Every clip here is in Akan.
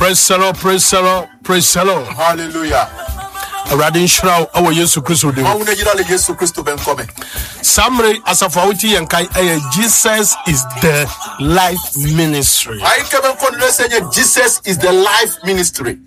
Praise the Lord, praise the Lord, praise the Lord. Hallelujah. Awurade nhyira wo ɛwɔ Yesu Kristo din. Mawu na yira le Yesu Kristo bɛ nkɔmɛ. Saa mmere asafo a wote yɛn kan ɛyɛ Jesus is the life ministry. Ayi kɛ bɛ nkɔ nilɛ sɛ nye Jesus is the life ministry.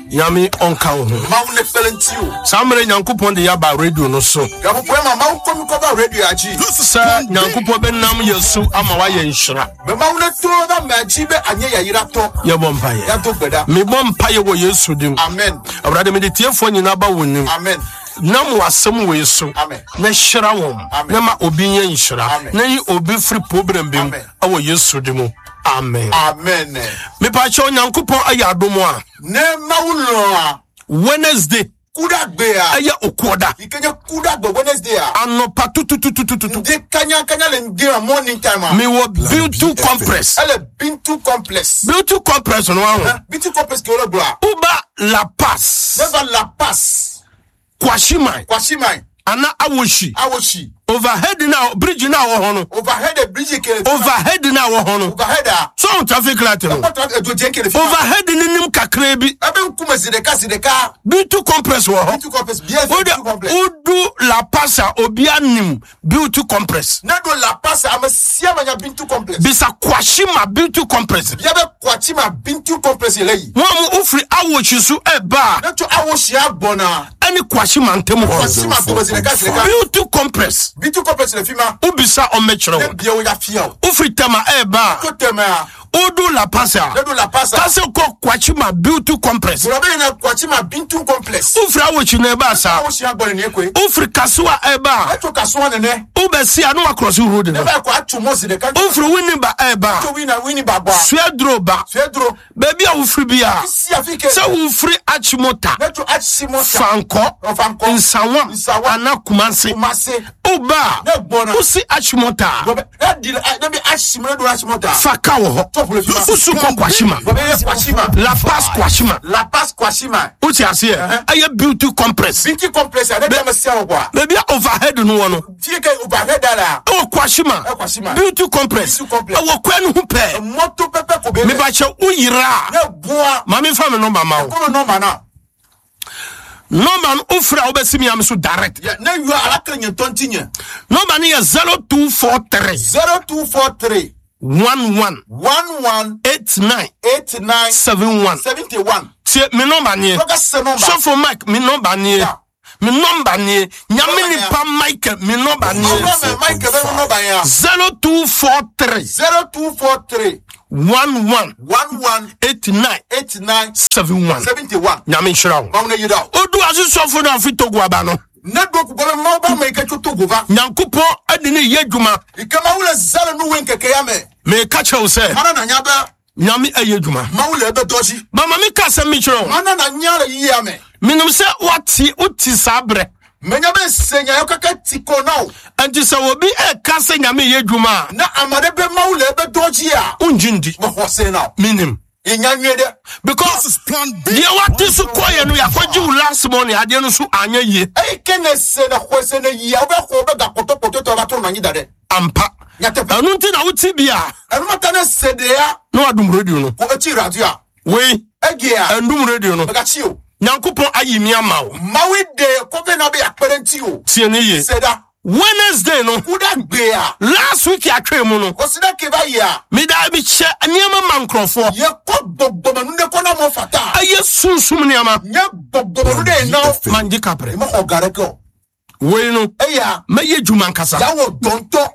Nyame ɔnka wo ho. Mawu ne kpɛlɛ nti o. Saa mmere Nyankopɔn de yaba radio no so. Gabopoe ma mawu kɔmi kɔba radio agyi. Sɛ Nyankopɔn bɛnam yɛ so ama wayɛ nhyira. Bɛ mawu ne to na mɛ agyi bɛ anyɛ yayira tɔ. Yɛbɔ mpaeɛ. Yɛato gbɛda. Mebɔ mpaeɛ wɔ Yesu din. Amen. Awurade mede tiefoɔ nyinaa ba wo nim. Amen. Nam w'asɛm wei so. Amen. Na hyira wɔn. Amen. Na ma obi nyɛ nhyira. Amen. Na yi obi firi problem bi mu. Amen. Ɛwɔ Yesu din mu. Amen. Amen. Mepakyɛ Onyankopɔn ayɛ adom a. Ne mawu lɔn a. Wednesday. Kuda gbe a. Ɛyɛ okuoda. Ikenye kuda gbe Wednesday a. Anɔpa tutututututu. Nde kanya kanya le nde a morning time a. Mewɔ Bintu Compress. Ɛlɛ Bintu Complex. Bintu Compress no aho. Bintu Complex ke wole gblɔa. Uba La Paz. Neva La Paz. Kwashiman. Kwashiman. Ana Awoshi. Awoshi. Overhead na bridge na wɔ hɔ no. Overhead bridge ke. Overhead na wɔ hɔ no. Overhead a. So traffic light no. Ɛkɔ traffic edo jɛ kele fi. Overhead ni nim kakra bi. Ebe nkume zideka zideka. Bintu Compress wɔ hɔ. Bintu Complex bia Bintu Complex. Udu La Paz a obi anim Beauty Compress. Ne do La Paz a ame sia ame nya Bintu Complex. Bisa Kwashima Beauty Compress. Bia be Kwachima Bintu Complex yɛ le yi. Wɔn mu wofiri Awoshi so ɛba a. Ne tso Awoshi agbɔna. Ɛne Kwashima ntam hɔ. Kwashima dome zi ɖeka zi ɖeka. Beauty Compress. Beauty Complex le fi ma. Wobisa ɔmmɛkyerɛ Ne wo. bia wo ya fia o. Wofiri Tema ɛba a. Tso Tema. Wodu La Paz a. Ne do La Paz a. Kase kɔ Kwachima Beauty Compress. Gblɔ be yina Kwachima Bintu Complex. Wofiri Awoshi na ɛba saa. Awoshi agbɔ nene koe. Wofiri Kasoa ɛba a. Etso Kasoa nene. Wobɛsi a na wakɔrɔsi road no. Ne ba kɔ atso mɔ zi ɖeka. Wofiri Winneba ɛba a. Tso Winna Winneba gbɔa. Suaduro ba. Suaduro. Baabi a wofiri bi a. Si afi ke. Sɛ wofiri Achimota. Ne tso Achimota. Fankɔ. Fankɔ. Nsawam. Nsawam. Ana Kumasi. Kumasi. Woba a. Ne gbɔna. Wosi Achimota a. Gblɔ be ne di ne bi Achim ne do Achimota. Fa ka wɔ hɔ. Tso ƒle fi ma. Wosu kɔ Kwashima. Gblɔ be ye Kwashima. La Paz Kwashima. La Paz Kwashima. Wote aseɛ? Ɛyɛ Beauty Compress. Bintu Complex a ne bi ame sia wɔ gbɔa. Baabi a overhead no wɔ no. Fie ke overhead la. Ɛwɔ Kwashima. Ɛwɔ Kwashima. Beauty Compress. Beauty Complex. Ɛwɔ kwan no ho pɛɛ. Mɔto pɛpɛ ko be. Mebakyɛ woyera a. Ne bua. Maame fa me nɔmba ma wo. Kɔmi nɔmba na. Nɔmba no wofrɛ a wobɛsi me ame so direct. Ne yɔ ala kele nye tɔnti nye. Nɔmba no yɛ 0243 0243 11 11 89 89 71. 71. Tie me nɔmba nie. Tɔgɔ se nɔmba. Sɔfo Mike me nɔmba nie. Yeah. Me nɔmba nie. Nyame nipa Michael me nɔmba nie. Ɔlɔ mɛ Michael bɛ nɔmba ya. 0243 0243 11 11 89 89 71. 71. Nyame nhyira wo. Mawu ne yira o. Odu ase sɔfo no afi Togo aba no. Ne do kugɔ bɛ mawu ba ma i kɛ tso Togo va. Nyankopɔn ade ne yɛ adwuma. I kɛ mawu le zã le nuwoe ŋkeke ya me. Meka kyerɛ wo sɛ Mana na nya bɛ Nyame ɛyɛ adwuma. mawu le ebe dɔ dzi. Mama meka asɛm mi kyerɛ wo. Mana na nya le yiyia me. Menim sɛ woate wote saa berɛ. Menya bɛ se nya yɔ keke ti kɔ na o. Enti sɛ obi ɛka sɛ Nyame yɛ adwuma a. Ne ame aɖe be mawu le ebe dɔ dzia. Wongye ndi. Mexɔ se na o. Menim. Enya nyuie ɖe. Because deɛ wate so kɔyɛ no yɛakɔgye wo last money adeɛ no so anyɛ yie. Eyi ke ne se ne xɔe se ne yia wobe xɔ wobe gakpɔtɔkpɔtɔtɔ va trɔ nɔ anyi da ɖe. Ampa. Nyateƒe. Ɛno nti na wote bi a. Enumata ne se ɖea. Na wadum radio no. Ko etsi radioa. Wei. Egea. Ɛndum radio no. Megatsi o. Nyankopɔn ayi mi ama wo. Mawu de kɔfɛ na be akpe ɖe ŋuti o. Tie ne yie. Se ɖa. Wednesday no. Kuda gbea. Last week atwa mu no. Kɔsi ɖe ke va yia. Meda mehyɛ nneɛma ma nkurɔfoɔ. Ye kɔ gbɔgbɔmenu ɖe kɔ na mɔ fata. Ɛyɛ sunsum nneɛma. Nye gbɔgbɔmenu ɖe ye na wo. Mangye kaprɛ. Mexɔ ga ɖeke o. Wei no. Eya. Mɛyɛ adwuma nkasa. Yawɔ dɔntɔ.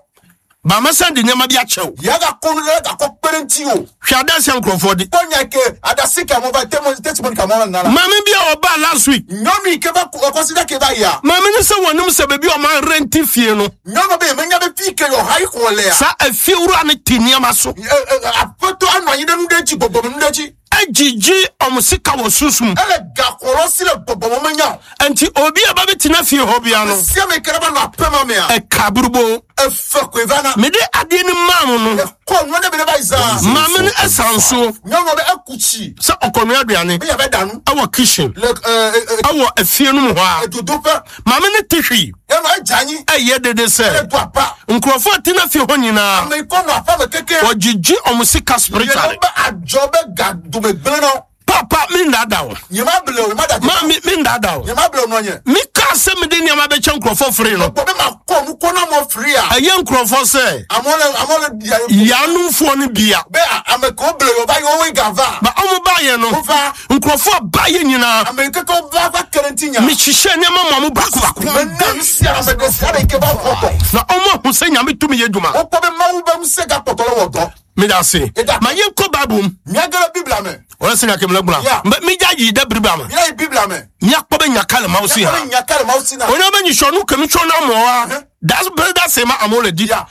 Ba mɛsan de nneɛma bi akyɛ wo. Yaga kɔ nu ɖe gakɔ kpe ɖe ŋuti o. Hwɛ adansi nkurɔfoɔ di. Kpɔ nya ke adasi ka mɔ va temo testimony ka mɔ va nana. Maame bi a ɔbaa last week. Nyɔnu yi ke va kɔsi ɖe ke va yia. Maame no sɛ wɔnim sɛ baabi a ɔma renti fie no. Nyɔnu be menya be fi ke yɔ ha yi xɔ lea. Saa efie wura ne te nneɛma so. Aƒetɔ anɔ anyi ɖe nu ɖe dzi gbɔgbɔme nu ɖe dzi. Egyigye ɔmo sika wɔ sunsum. Ele gaxɔlɔ si le gbɔgbɔme menya o. Nti obi a ba bɛtena fie hɔ bia no. Sia me ke ɖe va nɔ aƒe ma mea. Ɛka burubo. Efe koe va na. Mede adeɛ no maa mo no. Ekɔ nua ɖe be ne va yi zã. Maame no ɛsan so. Nyɔnua be eku tsi. Sɛ ɔkɔnua aduane. Be yava ɖa nu. Ɛwɔ kitchen. Le Ɛwɔ efie no mu hɔ a. Edodoƒe. Maame no te hwii. Nyɔnua edze anyi. Ɛyɛ dede sɛ. Edo apa. Nkurɔfoɔ a tena fie hɔ nyinaa. Ame yi kɔ nɔ aƒe me keke. Wɔgyegye ɔmo sika spiritually. Yɛlɛ be adzɔ be ga dome gblẽ na wo. Papa. Papa, mennaadaa wo. Nyema ble o, ma da Ma me mennaadaa wo. Nyema ble o no nye. Mekaa sɛ mede nneɛma bɛkyɛ nkurɔfoɔ firi no. Bɔ be ma kɔ nu kɔ na mo firi a. Ɛyɛ nkurɔfoɔ sɛ Amole amole dia. yanomfoɔ no bia. Be a ame ko ble o ba yo we gava. Ba ɔmo baayɛ no, Ova nkurɔfoɔ a baayɛ nyinaa, ame keke va va kerenti nya. mehyehyɛ nneɛma ma mo baako baako. Me na si ame de si ade ke ba kɔtɔ. Na ɔmo ahu sɛ Nyame tumi yɛ adwuma. Wokɔ be mawu be ŋusẽ gakpɔtɔ le wɔ dɔ. Meda ase. Ma yɛnkɔ Bible mu. Míagere Biblia me. Ɔyɛ sɛ nyakemle gbla. Yeah. Mbe mídza yi ɖe Biblia me. Míayi Biblia me. Míakpɔ be nya ka le Mawu si Míakpɔ hã. be nya ka le Mawu si na. Wònye be nyitsɔ nu ke mitsɔ na amewoa, das be ɖase ma amewo le di. Yeah.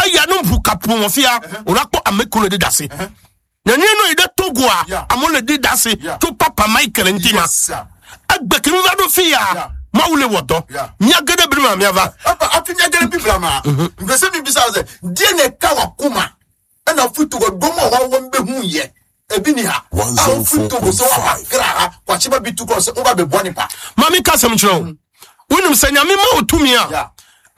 Eya ne ʋu kaƒomɔ fia, wòla kpɔ ame kewo le di ɖase. Nenye ne yi ɖe Togoa, Yeah. amewo le di ɖase Yeah. tso Papa Michael ŋuti ma. Yes, sir. Egbe ke míva ɖo fi ya, Yeah. Mawu le wɔ dɔ. Yeah. Míage ɖe Biblia me míava. Efa hafi míage ɖe Biblia mea, ŋgbe se mi bisa sɛ, die ne ka wɔ kuma, ena fi togo domɔ wa wɔm be hu yɛ. Ebi ni ha. Awo fi togo sɛ wa ba kra ha, kwakye ba bi tu kɔ sɛ wo ba bɛ bɔ nipa. Ma menka asɛm nkyerɛ wo. Wonim sɛ Nyame ma wo tumi a, Yeah.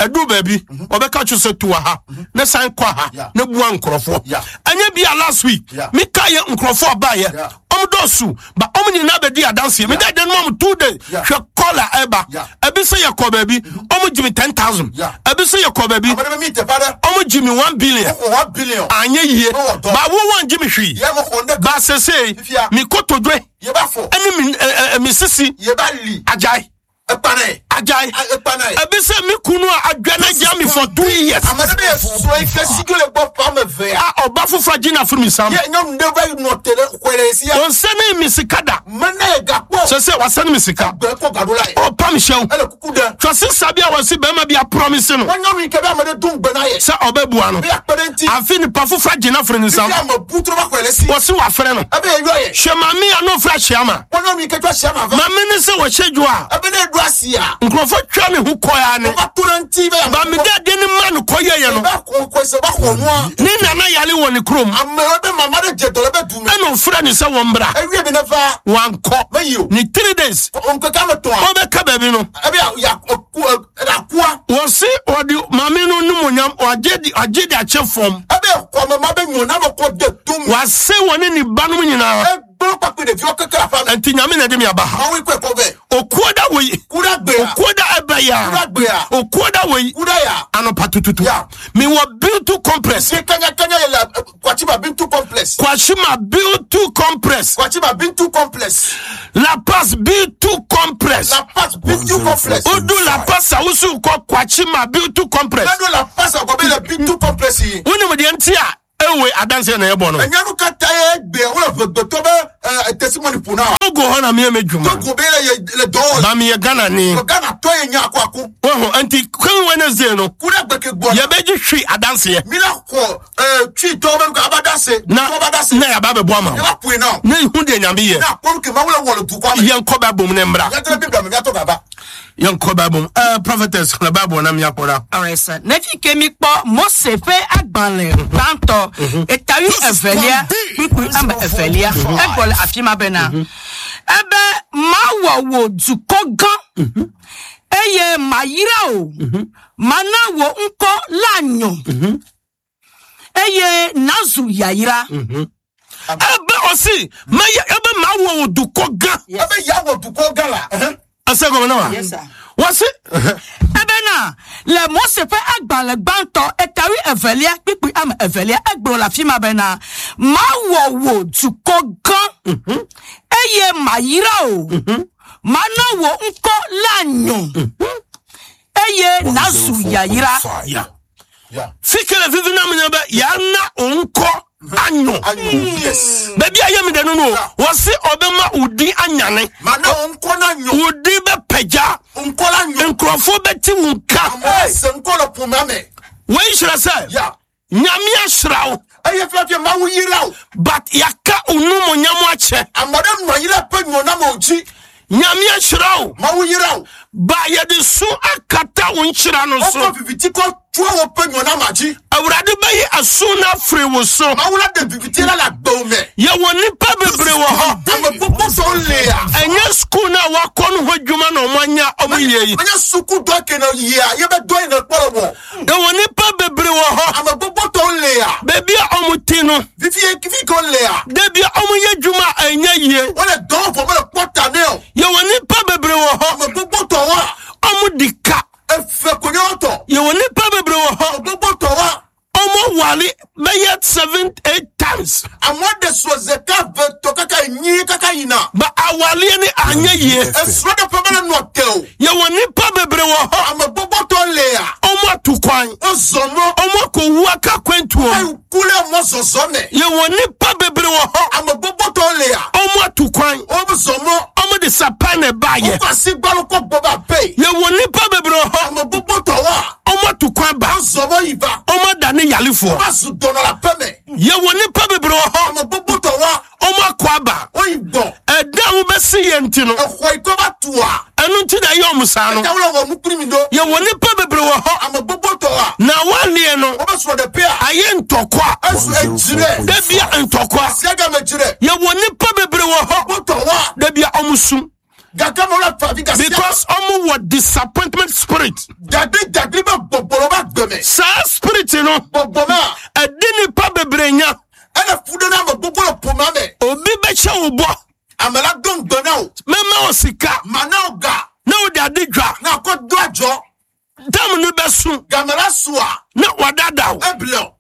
ɛduru baabi ɔbɛka kyerɛ sɛ tu wɔ ha ne san kɔ ha Yeah. ne bua nkurɔfoɔ. Yeah. Ɛnyɛ bi a last week Yeah. meka yɛ nkurɔfoɔ a baayɛ Yeah. ɔmo dɔɔso ba ɔmo nyinaa bɛdi adanseɛ. Meda dan mu ɔmo 2 days Yeah. hwɛ kɔla ɛba. Yeah. Ebi sɛ yɛkɔ baabi ɔmo gye me 10,000. Yeah. Ebi sɛ yɛkɔ baabi Ame ɖe be mi teƒe aɖe, ɔmo gye me 1 billion. woxɔ 1 billion. Anyɛ yie Wowɔ dɔ. ba wo wɔn gye me hwee. Yɛ mo xɔ ŋɖe Ba sese Fifia. mi kotodwe ye ba fɔ, ɛne mi ɛ ɛ mi sisi ye ba li, agyae ekpa nɛ, agyae. Ekpa nɛ. Ebi sɛ mi kunu a adwa na gya mi for 2 years. Ame ɖe be ye srɔ̃ yi ke si ke le gbɔ ƒe ame evea. A ɔba foforɔ agye na afiri mi nsam. Ye nyɔnu ɖe va yi nɔ te ɖe xɔe le sia. Ɔnsɛ ne mi sika da. Mena ye gakpɔ. Sɛ sɛ wasɛne mi sika. Gbe kɔ gaɖo la ye. Ɔpa mi hyɛw. Ele kuku ɖe. Twase sa bi a wɔsi bɛrima bi a promise no Wɔn nyɔnu yi ke be ame ɖe do ŋugbe na ye. sɛ ɔbɛbua no. Be akpe ɖe ŋuti. Afi nipa foforɔ agye na afiri ne nsam. Fifia ame bu trɔ va xɔe le si. Wɔsi wafrɛ no. Ebe ye yɔ ye. Hwɛ maame a n'ofura hyia ma. Wɔn nyɔnu yi ke tsɔ asia ma va. Maame ne sɛ wɔhyɛ dwa a Ebe ne ɖo asia. nkurɔfoɔ twa ne ho kɔya ne. Wova to ɖe ŋuti be Ba mi de ade ne ma no kɔyɛ yɛ no. Be xɔ xɔe se va xɔ nua. Ne nana yale wɔ ne kurom. Ame be mama ɖe dze dɔ le be du me. Ɛna ofura ne sɛ wɔn bra. Ewia bi ne va. Wankɔ. Meyi o. Ne 3 days. Ŋkeke ame tɔa. Ɔbɛka baabi no. Ebe ya ya ku akua. Wɔsi ɔde maame no nimonyam ɔagye de agye de akyɛ fam. Ebe xɔ me ma be nyɔ na me kɔ de to me. Wase wɔne ne ba nom nyinaa. Egblɔ kpakple ɖeviwo keke le aƒea me. Nti Nyame na ɛde mi aba ha. Mawu kɔe kɔ vɛ. Okuo da wei. Ku ɖe gbea. Okuo da ɛbɛ ya. Ku ɖe gbea. Okuo da wei. Ku ɖe ya. Anɔpa tututu. Ya. Mewɔ Bintu Complex. Si kanyakanya ye le Kwachima Bintu Complex. Kwashima Bintu Complex. Kwachima Bintu Complex. La Passe Bintu Complex. La Passe Bintu Complex. Odu La Passe a wosu kɔ Kwachima Bintu Complex. Nado La Passe agɔ be le Bintu Complex yi. Wonim deɛ nti a ewe adanseɛ na ɛbɔ no. Enyanu katã ye gbea wole ʋegbetɔ be testimony ƒo na wa. Togo hɔ na meyɛ m'adwuma. Togo be le ye le dɔ wɔ. Ba meyɛ Ghana ni. Ghana tɔ ye nya akɔ ako. Wohu nti kwen Wednesday no Ku ɖe gbe ke gbɔ. yɛbɛgye hwi adanseɛ. Mi la xɔ tui tɔwo be nu aba da se. Na Tɔwo ba da se. na yɛaba bɛboa ma wo. Ne ba ƒoe na o. Na ihu deɛ Nyame yɛ. Ne akpɔ nu ke Mawu le wɔ le dukɔa me. Yɛnkɔ Bible mu ne mmra. Míate ɖe Biblia me míatɔ gaba. Yɛnkɔ Bible mu. Prophetess xlẽ Bible na míakpɔ ɖa. Alright, sir. Ne fi ke mi kpɔ Mose ƒe agbalẽ gbãtɔ eta 22 kpukpui 2 egblɔ le afi ma bena ebe mawɔ wò dukɔ gã eye mayra wò mana wò ŋkɔ la nyɔ eye nazu yayra. Ebe ɔsi mɛyɛ ebe mawɔ wo dukɔ gã. Ebe ya wɔ dukɔ gã la. Ɛsɛ gɔmɛ na wa. Yes, sir. Wɔsi. Ebena le Mose ƒe agbalẽ gbãtɔ eta 22 kpukpui 2 egblɔ le afi ma bena mawɔ wò dukɔ gã eye mayra wò mana wò ŋkɔ la nyɔ eye nazu yayra. Ya. Ya. Fi ke le vivi na mi nye be yana wo ŋkɔ anyɔ. Anyo. Yes. Baabi a yɛ mi dɛ no no wɔsi ɔbɛma wo din anyane. Mana wo ŋkɔ na nyɔ. Wo din bɛ pɛgya. Ŋkɔ la nyɔ. Nkurɔfoɔ bɛti wo nka. Amewo se ŋkɔ le ƒomea me. Wei kyerɛ sɛ Ya. Nyame ahyira wo Eye fiafia Mawu yra wo. but yɛaka wo numonyam akyɛ. Ame ɖe nɔ anyi ɖe ƒe nyɔ na me dzi. Nyame ahyira wo Mawu yra wo. ba yɛde so akata wo nhyira no so. Wokɔ viviti kɔ tsoa wo ƒe nyɔ na ma dzi. Awurade bɛyi aso no afiri wo so. Mawu la ɖe viviti la le agbewo me. Yɛwɔ nnipa bebree wɔ hɔ. Ame gbogbo sɔwo lia. Ɛnyɛ sukuu no a wakɔ no ho adwuma na ɔmo anya ɔmo yie yi. Menye suku dɔ ke ne yia ye be dɔ yi ne kpɔ le wɔ. Yɛwɔ nnipa bebree wɔ hɔ. Ame gbogbo tɔwo lia. le ya. Baabi a ɔmo te no. Fifi ye fi ko le ya. Da bia ɔmo yɛ adwuma a ɛnyɛ yie. Wole dɔn fɔ mele kpɔ ta ne o. Yɛwɔ nnipa bebree wɔ hɔ. Ame gbogbo tɔ wa. Ɔmo di ka. Efe konye tɔ. Yɛwɔ nnipa bebree wɔ hɔ. Gbogbo tɔ wa. Ɔmo wale bɛyɛ 7, 8 times. Amewo de srɔ̃ zeka ve tɔ kaka enyi kaka yina. Ba awaleɛ ne anyɛ yie. Esrɔ̃ ɖe ƒe mele nɔ te o. Yɛwɔ nnipa bebree wɔ hɔ. Ame gbogbo tɔ le ya. Ɔmo atu kwan. Wozɔ mɔ. Ɔmo akɔwu aka kwantuom. Eyi ku le mɔ zɔzɔ me. Yɛwɔ nnipa bebree wɔ hɔ. Ame gbogbo tɔ le ya. Ɔmo atu kwan. Wozɔ mɔ. Ɔmo de sapan na ɛbaayɛ. Wokɔ asi gbalo kɔ gbɔ ba pe. Yɛwɔ nnipa bebree wɔ hɔ. Ame gbogbo tɔ wa. Ɔmo atu kwan ba. Wozɔ mɔ yi va. Ɔmo adane yalefoɔ. Wova zu dɔnɔ le aƒe me. Yɛwɔ nnipa bebree wɔ hɔ. Ame gbogbo tɔ wa. Ɔmo akɔ aba. Woyi gbɔ. Ɛda a wobɛsi yɛn nti no. Exɔ yi kɔ va tua. Ɛno nti na ɛyɛ ɔmo saa no. Eta wole wɔ nukuri mi ɖo. Yɛwɔ nnipa bebree wɔ hɔ. Ame gbogbo tɔ wa. Na waleɛ no. Wobe srɔ̃ ɖe pea. Ayɛ ntɔkwa. Ezu edzi ɖe. Da bia ntɔkwa. Siaga me dzi ɖe. Yɛwɔ nnipa bebree wɔ hɔ. Gbogbo tɔ wa. Da bia ɔmo sum. Gake me wole fa vi gasia. Because ɔmo wɔ disappointment spirit. Dagbi dagbi be gbɔgbɔ le wobe agbe me. Saa spirit no. Gbɔgbɔ ma. Ɛdi nnipa bebree nya. Ele fu ɖe na ame gbogbo le ƒomea me. Obi bɛhyɛ wo bɔ. Ame la do ŋugbe na wo. Mɛma wo sika. Mana wo ga. Na wode ade dwa. Na akɔ do adzɔ. Dam no bɛso. Game la sua. Na wadada wo. Eble o.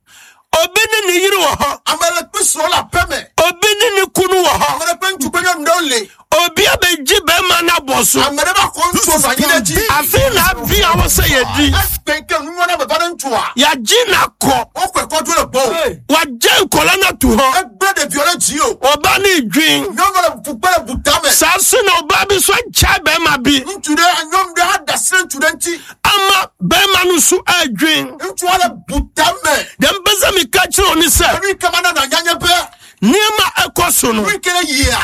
Obi ne ne yere wɔ hɔ. Ame le kpe srɔ̃ le aƒe me. Obi ne ne kunu wɔ hɔ. Ame ɖe ƒe ŋutsu kple nyɔnu ɖewo le. Obi abɛgye bɛrima no abɔ so. Ame ɖe va xɔ ŋutsu nɔ anyi ɖe dzi. Afei na abia wo sɛ yɛdi. Ekpe ke nunyɔ na beva ɖe ŋutsua. Yɛagye no akɔ. Woxɔe kɔ dzo le gbɔwò. Wagye nkɔla no ato hɔ. Egblẽ ɖeviwo ɖe dzi o. Ɔba ne dwen. Nyɔnu le fu kpe le butame. Saa so na ɔbaa bi so agyae bɛrima bi. Ŋutsu ɖe nyɔnu ɖe ada asi ɖe ŋutsu ɖe ŋuti. Ama bɛrima no so adwen. Ŋutsua le butame. Deɛ mpɛ sɛ meka kyerɛ wo ne sɛ. Enu yi ke mana na nyanye be. Nneɛma ɛkɔ so no. Nu yi ke ne yia.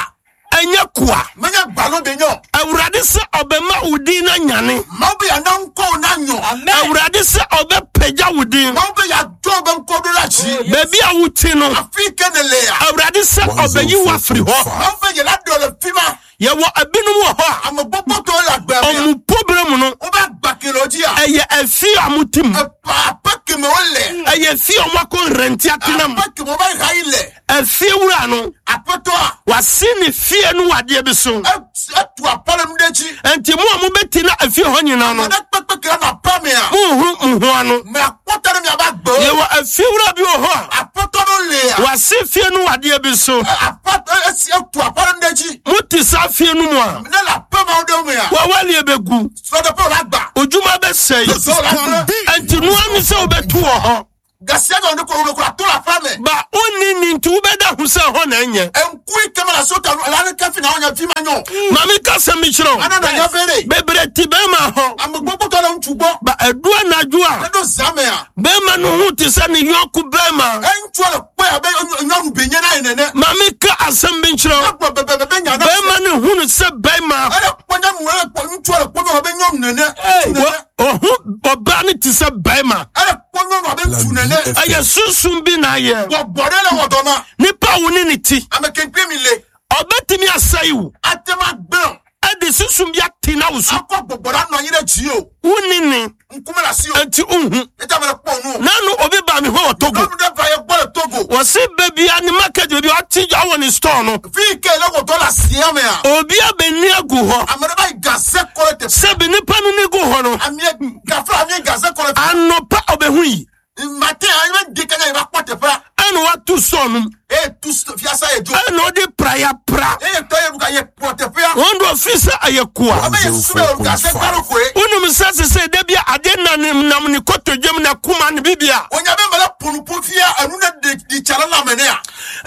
Ɛnyɛ koa. Menye gbalo be nyɔ. Awurade sɛ ɔbɛma wo din na nyane. Mawu be yeana ŋkɔ wo na nyɔ. Awurade sɛ ɔbɛpagya wo din. Mawu be yeado be ŋkɔ ɖo ɖe dzi. Baabi a wote no. Afi ke ne le ya. Awurade sɛ ɔbɛyi wo afiri hɔ. Mawu be yela ɖe le fi ma. Yɛwɔ ebinom wɔ hɔ a. Ame gbogbo tɔwo le agbea mea. Ɔmo problem no. Wobe agba ke le wo dzia. Ɛyɛ efi a mo te mu. Epa aƒe keme wole. Ɛyɛ efi a ɔmo akɔ rɛnti atena mu. Aƒe keme wobe ha yi le. Efie wura no. Aƒetɔa. Wasi ne fie no wɔ adeɛ bi so. Etu aƒe le nu ɖe dzi. Nti mo a mobɛti na efie hɔ nyinaa no. Ame ɖe kpekpe ke le nɔ aƒea mea. Monhu mo ho ano. Me akpɔ ta ɖe miabe agbewo. Yɛwɔ efie wura bi wɔ hɔ a. Aƒetɔ ɖo lea. Wasi fie no wɔ adeɛ bi so. Aƒe esi etu aƒe le nu ɖe dzi. Mote saa fie no mu a. Ne le aƒe mawo ɖewo mea. Wɔwɔlie bɛgu. Srɔ̃ɖeƒe wòle agba. Odwuma bɛsɛe. Srɔ̃ wòle agbe. Nti noa ne sɛ wobɛto wɔ hɔ. Gasia gã wòle ko ato le aƒea me. Ba wonni ni nti wobɛda ho sɛ hɔ na ɛnyɛ. Eŋku yi ke me le asi wota nu ala aleke fi na wonye fi ma nyɔ. Maame ka sɛm bi kyerɛ wo. Ana na nya vere. Bebree te bɛrima hɔ. Ame gbogbo tɔ le ŋutsu gbɔ. Ba ɛdu anadwo a. Eɖo zã mea. Bɛrima no ho te sɛ ne yɔnko bɛrima. Eŋutsua le kpɔe abe nyɔnu be nye na ye nene. Maame ka asɛm bi nkyerɛ wo. Egblɔ bebebebe nya na. Bɛrima no hu no sɛ bɛrima. Ele kpɔ nyɔnu ele kpɔ ŋutsua le kpɔ nyɔnu abe nyɔnu nene. Ŋutsu nene. Ɔho ɔbaa no te sɛ bɛrima. Ele kpɔ nyɔnu abe ŋutsu nene. Ɛyɛ sunsun bi na ayɛ. Gbɔgbɔ ɖe le wɔ dɔ ma. Nipa wo ne ne ti. Ame kenkpe mi le. Ɔbɛtumi asɛe wo. Ate ma gblẽ. Ɛde sunsun bi ate na wo so. Akɔ gbɔgbɔ ɖe anɔ anyi ɖe dzi o. Wonni ne. Ŋkume le asi o. Nti nhu. Eta me le kpɔ nu. Nanu obi ba mi hɔ wɔ Togo. Nyɔnu ɖe va ye gbɔ le Togo. Wɔsi beebi a ne market beebi a ɔte gya wɔ ne store no. Fi yi ke le wɔ dɔ le asia mea. Obi abɛni agu hɔ. Ame ɖe va yi gaze kɔ le teƒe. Sɛbi nipa no ni gu hɔ no. Amie gafla amie gaze kɔ le teƒe. Anɔpa ɔbɛhu yi. Matin anyi be ŋdi kanya yi va kpɔ teƒea. Ɛna watu store no mu. Eye tu fiasa ye dzo. Ɛna ɔde praya pra. Eye tɔ ye ka ye kplɔ teƒea. Wɔn do fi sɛ ɛyɛ koa. Abe ye su be gaze gbalo koe. Wonim sɛ sese de bi ade na ne nam ne kotodwam na kuma ne bibia. Wonya be mele ƒonuƒo fia enu ne de di tsa le lãme nea.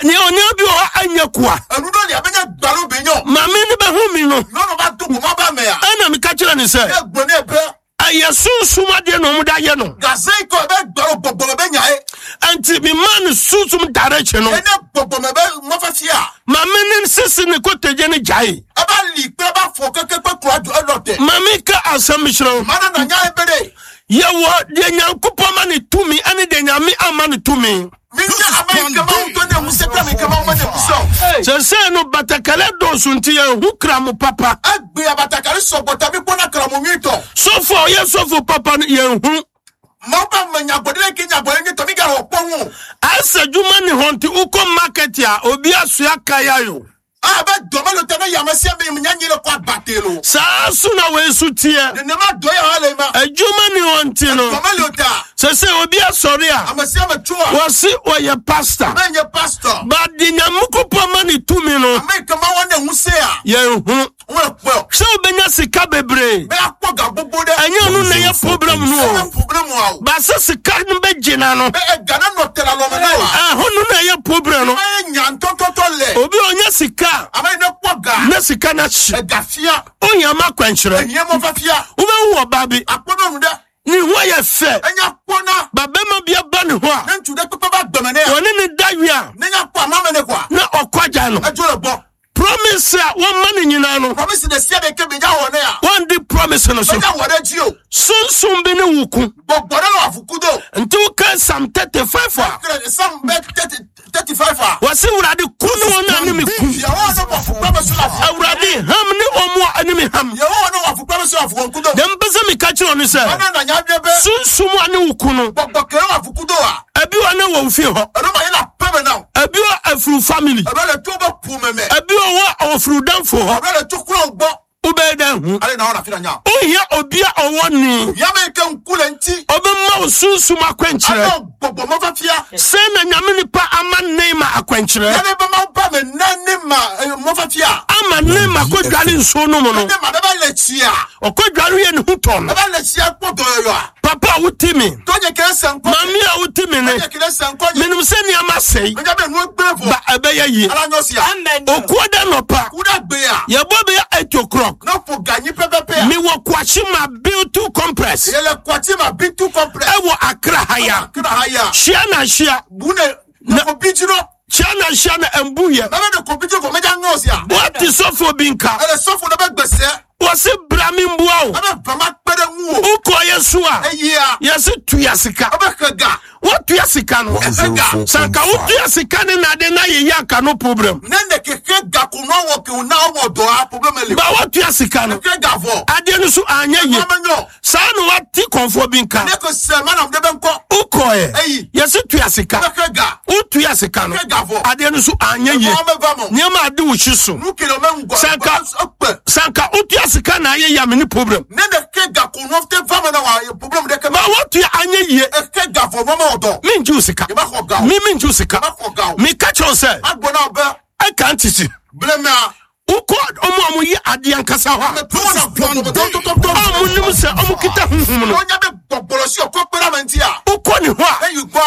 Nea onia bi wɔ hɔ anyɛ koa. Enu ɖo li abe nye gbalo be nyɔ. Maame ne bɛhu mi no. Nyɔnu va do goma ba mea. Ɛna meka kyerɛ ne sɛ. Ye gblɔ nɛ be. Ɛyɛ sunsum adeɛ na ɔmo de ayɛ no. Gaze yi kɔ ebe gbalo gbɔgbɔ me be nya ye. Nti mi maa ne sunsum direction no. Ene gbɔgbɔ me be mɔfɛfia. Maame ne sisi ne kotodwe ne gyae. Eba li kple eba fɔ keke kpe kura du elɔ te. Maame ka asɛm kyerɛ wo. Mana na nya ye be de. Yɛwɔ deɛ Nyankopɔn ma ne tumi ɛne deɛ Nyame ama ne tumi. Mi nye ame yi ke Mawu to ne ŋusẽ kple ame yi ke Mawu mene ŋusẽ o. Sɛsɛɛ no batakɛlɛ dɔɔso nti yɛnhu kramo papa. Egbe abatakari sɔgbɔ ta mi kpɔna kramo nyuitɔ. Sɔfo a ɔyɛ sɔfo papa no yɛnhu. Mawu be nyagbɔɖi ke nyagbɔɖi nye tɔ mi ga wɔ kpɔ ŋu. Asɛ adwuma ne hɔ nti wokɔ market a obi asoa kaya yo. A be dɔmɛ le tɛ ne yame sia me nya nyi le kɔ agbate lo. Saa so na wei so teɛ. Nenema dɔ ya hã le ma. Adwuma ne hɔ nti no. Dɔmɛ le ta. Sɛ sɛ obi asɔre a. Ame sia me tsoa. Wɔsi ɔyɛ pastor. Ame nye pastor. Ba de Nyankopɔn ma ne tumi no. Ame ke ma wɔn ne ŋusẽ a. Yɛn hu. Wɔn kpɔ. Sɛ wobɛnya sika bebree. Bɛ akpɔ ga gbogbo ɖe. Ɛnyɛ ɔno na ɛyɛ problem no o. Ɛnyɛ problem o. Ba sɛ sika no bɛgye na no. Bɛ ɛga na nɔ tɛlɛ lɔmɛ na wa. Ɛhɔ no na ɛyɛ problem no. Ɛyɛ nya ntɔtɔtɔ lɛ. Obi a ɔnya sika. Ame yi ne kpɔ ga. Na sika no ahye. Ɛga fia. Ohia ma akwankyerɛ. Ehia mɔ fa fia. Wobɛhu ɔbaa bi. Akpɔ nyɔnu ɖe. Ne ho ayɛ fɛ. Enya kpɔna. Ba bɛrima bi aba ne ho a. Ne ŋutsu ɖe kpekpe va gbeme nɛ. Wɔne ne da wie a. Ne nya kpɔ ama me ne kɔa. Na ɔkɔ agya no. Edzo le gbɔ. Promise a wɔma ne nyinaa no. Promise ɖe sia ɖe ke be nya wɔ ne ya. Wɔndi promise no so. Be nya wɔ ɖe dzi o. Sunsun bi ne wo ku. Gbɔgbɔ ɖe le wɔ avuku do. Nti woka Psalm 35 a. Psalm bɛ 35 a. Wɔsi Awurade ku ne wɔn a ne me ku. Yehowa ne wɔ afukpa bɛ so la. Awurade ham ne wɔn a ne me ham. Yehowa ne wɔ afukpa bɛ so afuwɔ nkudo. Deɛ mpɛ sɛ meka kyerɛ ɔno sɛ. Ɔno na nya bɛ. Sunsum a ne wo ku no. Gbɔgbɔ kere wɔ afuku do a. Ebi wɔ ne wɔ wo fie hɔ. Ɛno ma yɛ na pɛ mɛ na. Ebi wɔ afuru family. Ɛbɛ le to bɛ pu mɛ mɛ. Ebi wɔ wɔ afuru danfo hɔ. Ɛbɛ le to kura gbɔ. Wobɛyɛ dɛ hu. Ale na ɔna fi na nya. Ohia obi a ɔwɔ ni. Yame ke ŋku le ŋuti. Ɔbɛma wo sunsum akwankyerɛ. Ana gbɔgbɔ mɔfa fia. Sɛ na Nyame nipa ama Neema akwankyerɛ. Yame bɛ ma ba me na ne ma mɔfa fia. Ama Neema kɔ dware nsuo no mu no. Ne ma bɛ ba le tsia. Ɔkɔ dware yɛ ne ho tɔ no. Bɛ ba le tsia kpɔ dɔyɔyɔ a. Papa a wote me. Tɔnye kele sɛ nkɔ. Maame a wote me ne. Tɔnye kele sɛ nkɔ. Menim sɛ nneɛma sɛe. Menya bɛ nu gbe vɔ. Ba ɛbɛyɛ yie. Ala nyɔ sia. Amen. Okuo da nɔpa. Kuda gbe a. Yɛbɔ bɛyɛ 8 o'clock. Ne ƒo ganyi pɛpɛpɛ a. Mewɔ Kwashima Biltu Complex. Yɛlɛ Kwashima Biltu Complex. Ɛwɔ Accra ha ya. Accra ha ya. Hyia na hyia. Bu ne ne ko bi dzro. Hyia na hyia na mbu yɛ. Mɛmɛ ne ko bi dzro kɔ mɛdza nyɔ sia. Wɔte sɔfo bi nka. Ɛlɛ sɔfo ne bɛ gbèsè. Wɔsi bra mi mbua o. Ɛbɛ vama kpe ɖe ŋu o. Wokɔ yɛ so a. Eyia. Yɛsi tuya sika. Ɛbɛ xe ga. Wotua sika no. Sanka wotua sika ne nade na yɛyɛ aka no problem. Ne ne keke ga ko na wɔ ke na wɔ dɔ a problem le. Ba wotua sika no. Keke ga vɔ. Adeɛ no so anyɛ yie. Ɛma nyɔ. Saa na wate kɔnfoɔ bi nka. Ne ko sɛ mana de bɛ nkɔ. Wokɔɛ. Eyi. Yɛsi tua sika. Keke ga. Wotua sika no. Keke ga vɔ. Adeɛ no so anyɛ yie. Ɛma bɛ va mɔ. Nneɛma ade wo hyi so. Nu kele mɛ ŋgɔ. Sanka. Ekpe. Sanka wotua sika na ayɛ yie a me ne problem. Ne ne ke ga ko nɔ te va mɛ na wa problem de ke. Ba wotua anyɛ yie. Eke ga vɔ nɔ mɛ wɔ dɔ. Mengye wo sika. Yɛ bɛ xɔ ga o. Me mengye wo sika. Yɛ bɛ xɔ ga o. Meka kyerɛ wo sɛ. Agbɔ na bɛ. Ɛka ntete. Blemea. Wokɔ ɔmo a moyɛ adeɛ ankasa hɔ a. A monim sɛ ɔmo kita honhom no. Wokɔ ne hɔ a.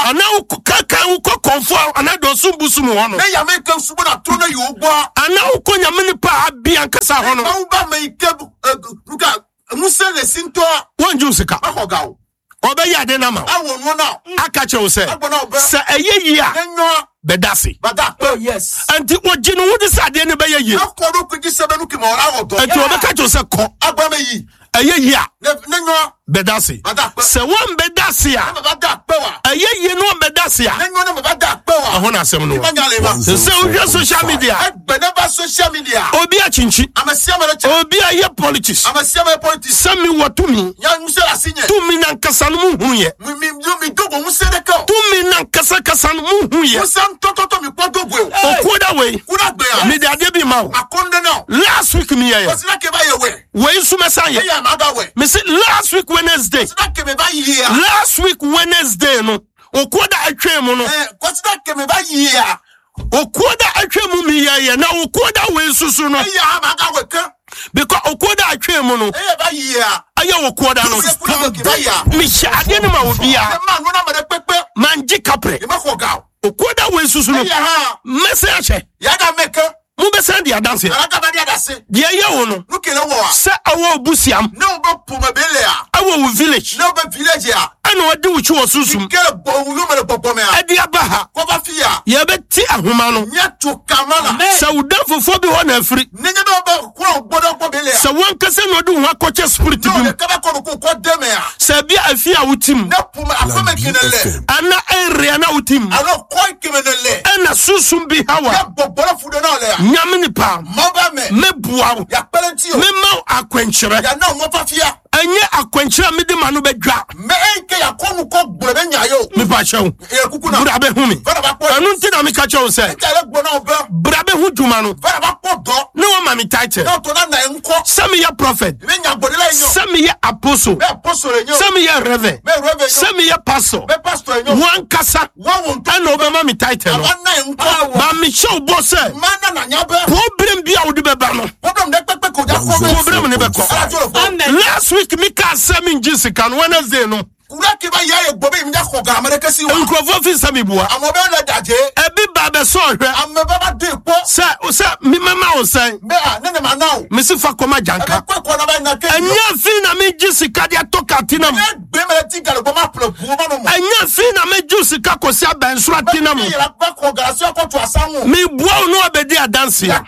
Anaa wokɔ kankan wokɔ kɔnfo a anaa dɔsum busum hɔ no. Anaa wokɔ Nyame nipa a abi ankasa hɔ no. Wɔngye wo sika. Ɔbɛyɛ ade no ama wo. Aka kyerɛ wo sɛ sɛ ɛyɛ yie a bɛda ase. Oh yes. Nti wɔgye no wode sɛ adeɛ no bɛyɛ yie. Nti wɔbɛka kyerɛ wo sɛ kɔ. Ɛyɛ yie a bɛda ase. Sɛ wɔmbɛda ase a ɛyɛ yie no wɔmbɛda ase a ɛho na asɛm no wɔ. Sɛ wohwɛ social media obi akyinkyi obi ayɛ politics sɛ mewɔ tumi tumi nankasa no muhu yɛ tumi nankasa kasa no muhu yɛ okuo da wei mede adeɛ bi ma wo last week meyɛyɛ wei nso mɛsan yɛ mese last week Wednesday last week Wednesday no okuo da atwa mu no okuo da atwa mu meyɛyɛ na okuo da wei nso so no because okuo da atwa mu no ɛyɛ okuo da no mehyɛ adeɛ no ma obiara mangye kaprɛ okuo da wei nso so no mɛsɛn ahyɛ mobɛsan di adanseɛ deɛ ɛyɛ wo no sɛ ɛwɔ obusiam ɛwɔ wo village ɛna ɔde wo kyi wɔ sunsum ɛde aba ha yɛbɛte ahoma no sɛ wo dan fofoɔ bi hɔ na afiri sɛ wankasa na ɔde wo ho akɔkyɛ spirit bi mu sɛ bi afi a wotim ana area na wotim ɛna sunsum bi hawa Nyame nipa mɛboa wo mɛma wo akwankyerɛ. Ɛnyɛ akwankyerɛ a mede ma no bɛdwa. Mepa kyɛw, bra bɛhu me. Ɛno nti na meka kyerɛ wo sɛ bra bɛhu dwuma no ne wɔma me title sɛ meyɛ prophet, sɛ meyɛ apostle, sɛ meyɛ reverend, sɛ meyɛ pastor. Wankasa ɛna wobɛma me title no. Ba mehyɛ wo bɔ sɛ problem bi a wode bɛba no, problem ne bɛkɔ. Last week mekaa sɛ mengye sika no, Wednesday no nkurɔfoɔ fi sɛ meboa ɛbi ba bɛsɛ ɔhwɛ sɛ sɛ memɛma wo sɛn, mese fa kɔma gyanka. Ɛnyɛ fi na megye sika de atɔ katina mu, ɛnyɛ fi na megye sika kɔsi abɛnsoro atina mu. Meboa wo ne wabɛdi adanseɛ.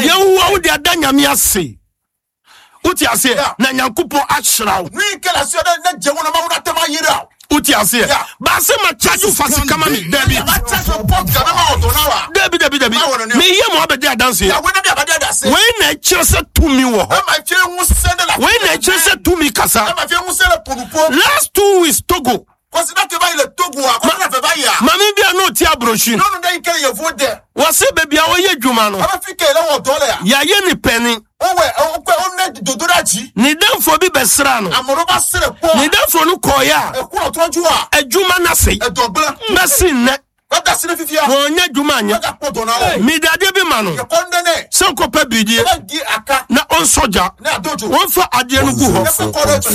Yɛwoa wo de ada Nyame ase, wote aseɛ? Na Nyankopɔn ahyira wo, wote aseɛ? Baase ma charge fa sika ma me, dabi dabi dabi dabi, meyɛ ma wabɛdi adanseɛ. Wei na ɛkyerɛ sɛ tumi wɔ hɔ, wei na ɛkyerɛ sɛ tumi kasa. Last 2 weeks, Togo maame bi a na ɔte aburokyi wɔse baabi a wɔyɛ adwuma no yɛayɛ ne pɛni, ne damfo bi bɛsra no, ne damfo no kɔɔeɛ a adwuma no ase bɛsi nnɛ wɔnyɛ adwuma anyɛ. Mede adeɛ bi ma no sɛ nkɔpɛ bidie na ɔnsɔ gya, wɔmfa adeɛ no gu hɔ,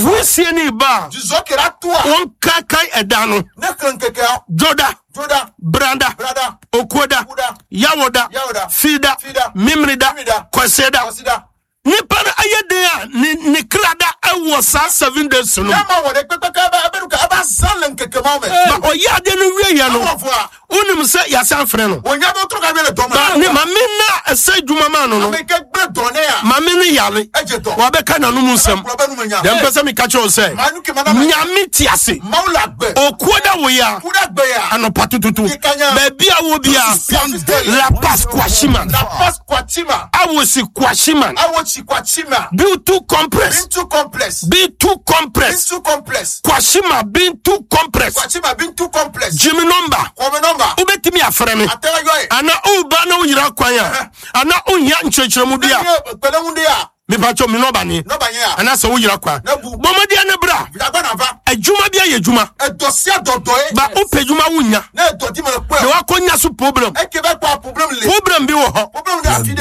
wosie ne ba a wɔnkaakae ɛda no, Dwoda, Brada, Okuoda, Yawoda, Fida, Mimrida, Kwaseda. Nipa no ayɛ den a ne kra da ɛwɔ saa 7 days no. Ma ɔyɛ adeɛ no wie yɛ no, wonim sɛ yɛasan frɛ no ba ne mame na ɛsɛ adwuma ma no. Mame no yare, wabɛka n'anom nsɛm deɛ mpɛ sɛ meka kyerɛ wo sɛ Nyame te ase. Okuo da wo yɛ a anɔpa tututu, baabi a wɔ bia, La Paz Kwashiman, Awosi Kwashiman, Bintu Complex, Bintu Complex, Kwashima Bintu Complex. Jimmy number wobɛtumi afrɛ me ana woba na woyera kwan a ana wohia nkyerɛkyerɛmu bi a, mepatwɛ me nɔba ne anaasɛ woyera kwan, bɔmmɔdeɛ ne bra. Adwuma bi ayɛ adwuma ba wopɛ adwuma wonya na wakɔnya so problem, problem bi wɔ hɔ.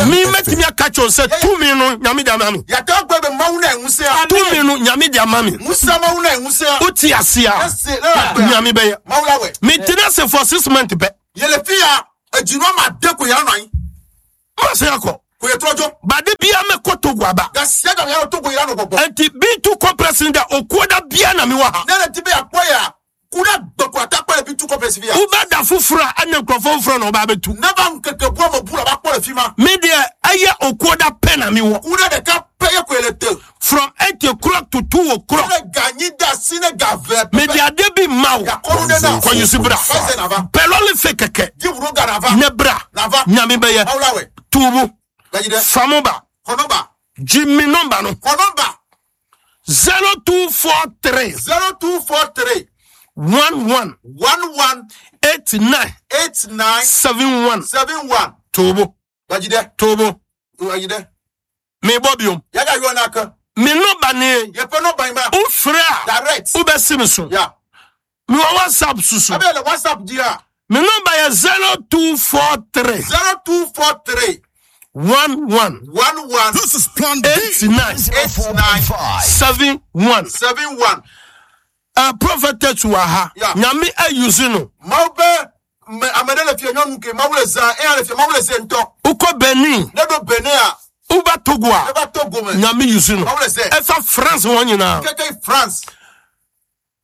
Me mɛtumi aka kyerɛ wo sɛ tumi no Nyame de ama me, tumi no Nyame de ama me. Wote ase a, Nyame bɛyɛ. Metena ase for 6 months pɛ masɛ akɔ bade bia mɛkɔ Togo aba. Enti Bintu Complex da okuo da bia na mewɔ ha. Wobɛda foforɔ a ɛne nkurɔfoɔ foforɔ na wɔba bɛtu. Me deɛ ɛyɛ okuo da pɛ na mewɔ from 8 o'clock to 2 o'clock. Mede ade bi ma wo, kɔyusu bra pɛlɔle fe kɛkɛ ne bra. Nyame bɛyɛ tuubu famu ba. Gye me nɔmba no, 0243 0243 11 11 89 89 71. 71. Tuubu tuubu. Mebɔ biom. Me nɔmba ne wofrɛ a wobɛsi me so. Mewɔ WhatsApp susu. Me nɔmba yɛ 0243 0243 11 11 This is Plan B. 89 89 71. 71. Prophetess wɔ ha. Nyame ayusi no. Wokɔ Benin, woba Togo a, Nyame yusi no. Ɛfa France wɔn nyinaa